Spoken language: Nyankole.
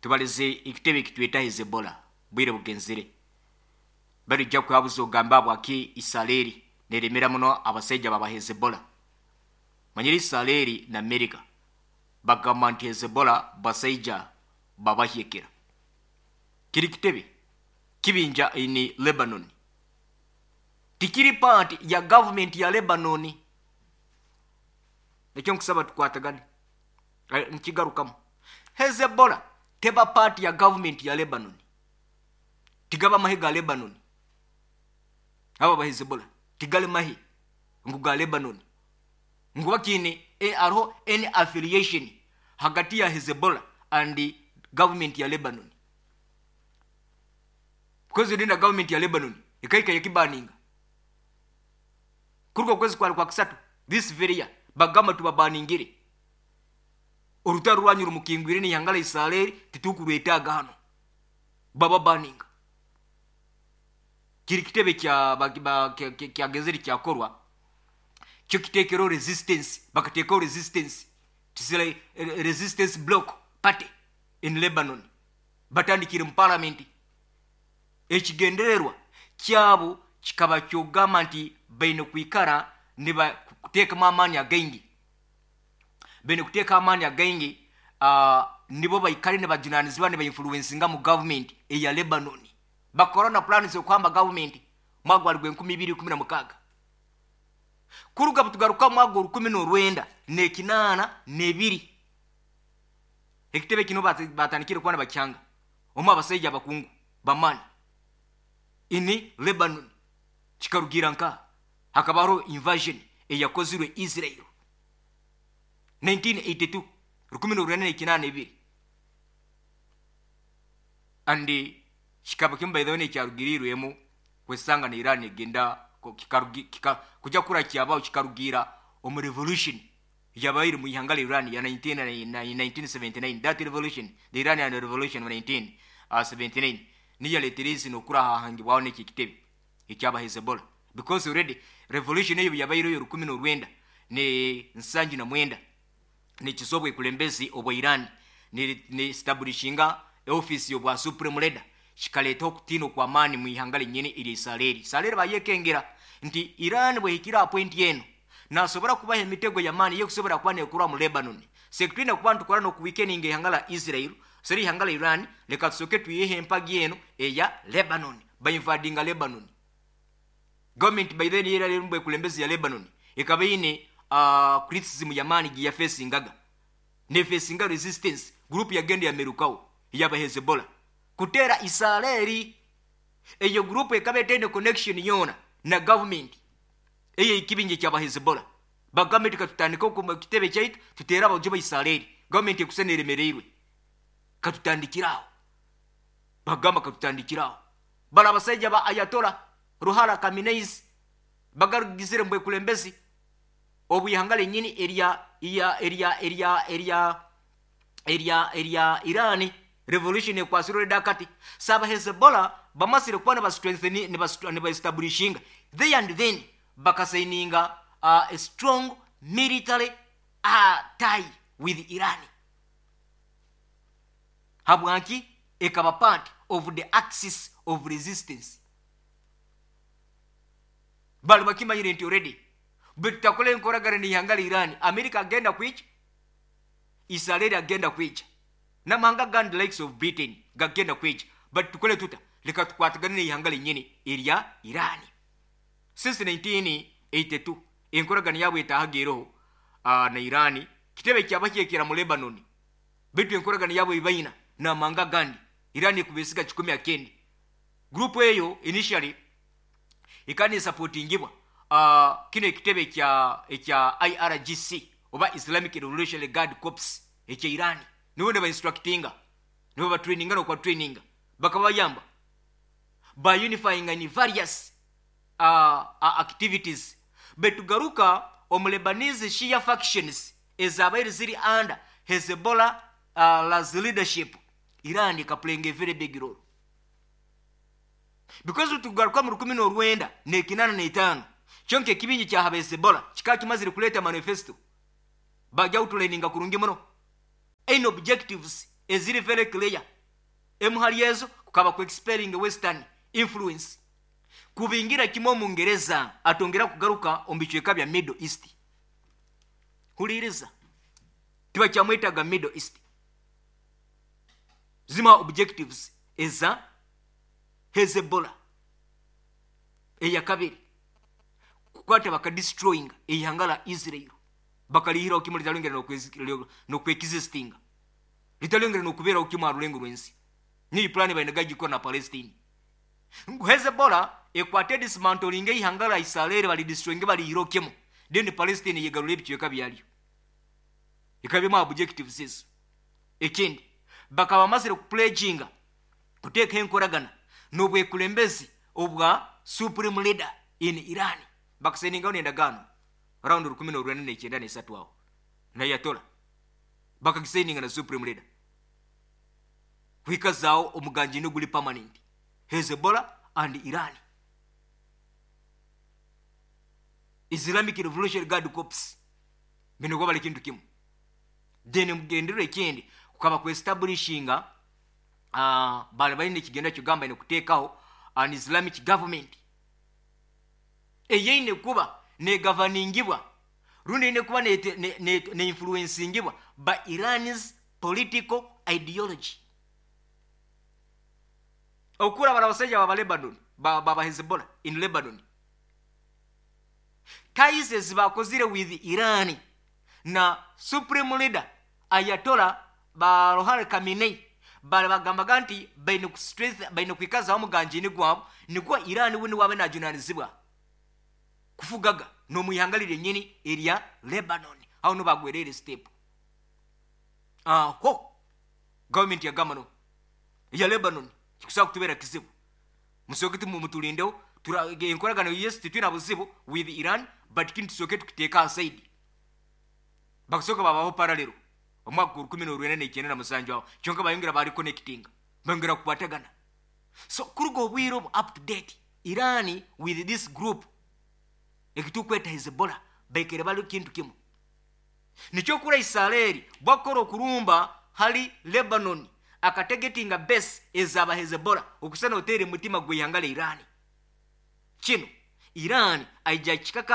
Tubalize ekitebe ekitweta Hezebola bwire bugenzire. Barija kuhabuza ogambe habwaki Isaleeri neremera muno abasaija baba Hezebola. Manyire Isaleeri na Amerika bagamba nti Hezebola basaija babahyekera. Kiri kitebe kibinja in Lebanon. Tikiri part ya government ya Lebanon. Ekyo nkusaba tukwatagane. Nkigarukamu. Hezebola teba part ya government ya Lebanon. Tigaba mahe ga Lebanon. Abo aba Hezebola tigali mahe ngu ga Lebanon. Ngu bakiine hariho any affiliation hagati ya Hezebola and government ya Lebanon. Because eri na government ya Lebanon ekahika yakibaninga. Kuruga okwezi kwari kwa kusatu this very year bagamba tubabaningire. Orutaro rwanyu rumukingwire n'eihanga rya Israeli titukurwetaaga hanu. Bababaninga. Kiri kitebe kya kyagenzire kyakorwa kyo kitekereho resistance, bakateekaho resistance, resistance block party in Lebanon. Batandikire mu parliament. Ekigendererwa kyabo kikaba ky'okugamba nti baine kwikara nibateekamu amaani againgi. Baine kuteeka amaani againgi nibo baikare nibajunanizibwa nibainfluencinga mu government eya Lebanon. Bakora na pulaani z'okuhamba gavumenti mwaka gwali gw'enkumi ibiri ikumi na mukaaga. Kuruga butugaruka omu mwaka gw'orukumi n'orwenda n'ekinaana n'ebiri, ekitebe kinu baatandikire kuba nibakihanga omu abasaija abakungu b'amaani in Lebanon. Kikarugiira nkaha? Hakaba haroho invasion eyakozirwe Israel 1982, 1982. And kikaba kimu by the way nekyarugiriirwemu kwesanga na Iran egenda kuja kura kyabaho kikarugiira omu revolution yabaire mu ihanga lya Iran ya 1979, that revolution, the Iranian revolution of 1979 niyo yaletere ensi nokura hahangibwaho neki ekitebe ekyaba Hezbollah because already revolution eyo yabaireho yorukumi norwenda ne nsanju na mwenda Nikiza obwekulembezi obwa Iran ne establishinga office y'obwa supreme leader kikaleetaho okutiina okw'amaani mu ihanga rinyini erya Isareri. Isareri bayekengera nti Iran bwehikire aha point enu nasobora kubaha emitego y'amaani eyekusobora kuba nekorwa mu Lebanon. Sekutwine kuba nitukora n'oku weakeninga ihanga la Israel seri ihanga la Iran leka tusoke twiheho empagi enu eya Lebanon. Ba invadinga Lebanon. Government by then eyali erimu bwekulembezi ya Lebanon ekaba eine criticism y'amaani gi yafesingaga nefesinga resistance group yagenda yamerukaho eyaba Hezbollah kuteera Isareri. Eyo group ekaba etaine connection yoona na government eyekibinja ekyaba Hezbollah. Bagamba nti katutandike ekitebe kyaitu tuteere abaguju ba Isareri, government ekusa neremereirwe katutandikire aho. Bagamba katutandikire aho. Bari abasaija ba Ayatollah Ruhollah Khamenei's bagarugizire omu bwekulembezi obw'ihanga ryenyini erya erya erya erya erya erya Iran revolution ekwatsire already akati. So aba Hezbollah bamazire kuba niba strengthen niba establishinga there and then bakasayininga a strong military tie with Iran. Habwaki? Ekaba part of the axis of resistance. Bali bakimanyire nti already bwetutakora enkoragana n'eihanga rya Iran, America agenda kwija, Israel agenda kwija, n'amahanga agandi the likes of Britain gagenda kwija, but tukore tuta? Leka tukwatagane n'eihanga rinyini erya Iran. Since 1982 enkoragana yaabo etaahaga eroho na Iran, kitebe kyaba kyekera mu Lebanon. Beitu enkoragana yaabo ei baina n'amahanga agandi, Iran ekubesiga kikumi akendi. Group eyo initially ekaba nesapotingibwa kinu ekitebe ekya ekya IRGC oba Islamic Revolutionary Guard Corps ekya Iran. Nibo niba instructinga, nibo batraininga n'okuba traininga. Bakaba bayamba ba unifyinga in various activities. Beitu garuka omu Lebanese Shia factions ezabaire ziri under Hezbollah la's leadership, Iran eka playinga a very big role. Because tugaruka mu 1985, kyonka ekibingi kya Hezbollah kikaba kimazire kuleeta manifesto, bajya outlininga kurungi muno eine objectives. Eziri very clear. Emwe ahari ezo kukaba ku expelling western influence. Kubingira kimwe Omungereza atongera kugaruka omu bicweka bya Middle East. Huriiriza. Tibakyamwetaga Middle East. Zimwe aha objectives eza Hezbollah. Eyakabiri, kukwata bakadestroyinga eihanga ra Israel bakarihiraho kimwe ritarongera n'okwexistinga, ritarongera n'okubeeraho kimwe aha rurengo rw'ensi. Niyo puraani baine gagikora na Palestine. Ngu Hezbollah ekwate edismantolinge eihanga ra Israel baridestroyinge barihireho kimwe, then Palestine eyegarure ebicweka byaryo. Ekaba emwe aha objectives ezo. Ekindi, bakaba bamazire kupledginga kuteekaho enkoragana n'obwekulembezi obwa Supreme Leader in Iran. Bakasayiningaho n'endagaano round 1993 aho na Ayatollah. Bakagisayininga na Supreme Leader kwikazaaho omuganjini oguri permanent, Hezbollah and Iran. Islamic Revolutionary Guard Corps baine kuba bari ekintu kimwe. Then omugendererwa ekindi kukaba ku establishinga Baali baine ekigendererwa ky'okugamba baine kuteekaho an Islamic government eyeine kuba negavaningibwa rundi eine kuba neinfluensingibwa by Iran's political ideology. Okura bari abasaija baba Lebanon, baba Hezbollah in Lebanon. Ties ezi bakozire with Iran na Supreme Leader Ayatollah ba Ruhare Khamenei bari bagambaga nti baine ku strength baine kwikazaho omuganjini gwabo nikwo Iran we niwe abe najunanizibwa kufugaga nomwihanga ryenyini erya Lebanon. Aho niho bagwereire step. Aho government yagamba no eya Lebanon kikusobola kutubera kizibu. Musooke muturindeho enkoragano yes titwine buzibu with Iran but kinu tusooke tukiteeke aha side. Bakasooka baabaho parallel omwaka gwa 1997 aho, kyonka bayongera ba reconnectinga, bayongera kukwatagana. So kuruga obwire obu up to date, Iran with this group eki turikweta Hezbollah baikaire bari kintu kimwe. Nikyo kura Israeli bwakukora okurumba hari Lebanon akategetinga base eza ba Hezbollah okusana oteera emutima gw'eihanga rya Iran. Kinu Iran aija kikaka.